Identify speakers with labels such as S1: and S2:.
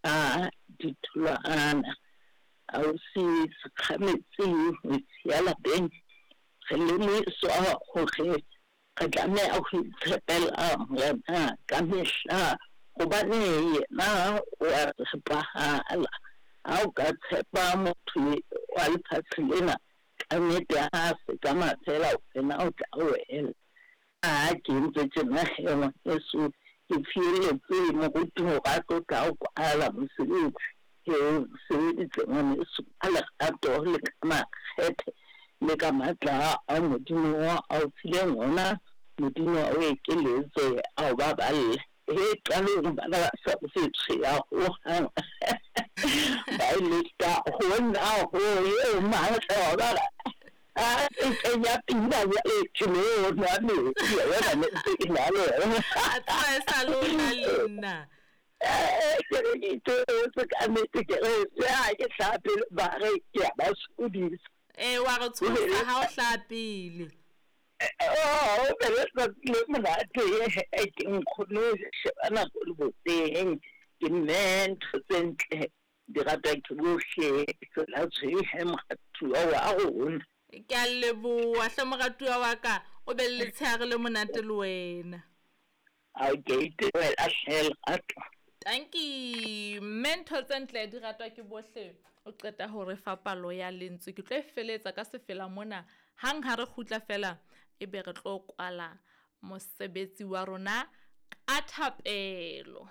S1: beha ditholwana. Ausi Sekgametsi ngwetsi ya lapeng, re lemohiswa hore re tlameha ho itshepela Morena ka mehla hobane yena o a tshepahala. Ha o ka tshepa motho wa lefatshe lena, kannete ha se ka mafela wena o tla wela. Ha ke entse tjena he ngwaneso, ke fielletse moruti hore a tlo tla o kwala mosebetsi. He o sebeditse ngwaneso ka lerato le ka makgethe le ka matla a Modimo a o fileng ona. Modimo a o ekeletse, a o baballe. He qalong bana ba sa tshweya hohang. Ba e leka hona ho eo matla wa bara a e kenya pina jwale ke lo nwa metsi wa bona ne ntse ke na le yona.
S2: A tseba e sa le o na le nna.
S1: Ke re ke itebetse ka nnete, ke re le ha ke hlaha pele ba re ke a ba sokodisa.
S2: Ee, wa re tshosa ha o hlaha pele.
S1: Oh, be letsatsi le monate ke nkgono sheba nako le boteng ke mme ntho tse ntle di ratwa ke bohle tsela tshwehe moratuwa wa rona.
S2: Ke a leboha hle moratuwa wa ka, o be le letshehare le monate le wena.
S1: A ke itebohela hle lerato.
S2: Tanki mme ntho tse ntle di ratwa ke bohle. O qeta ho re fa palo ya lentswe. Ke tlo e feletsa ka sefela mona. Hang ha re kgutla fela ebe re tlo kwala mosebetsi wa rona ka thapelo.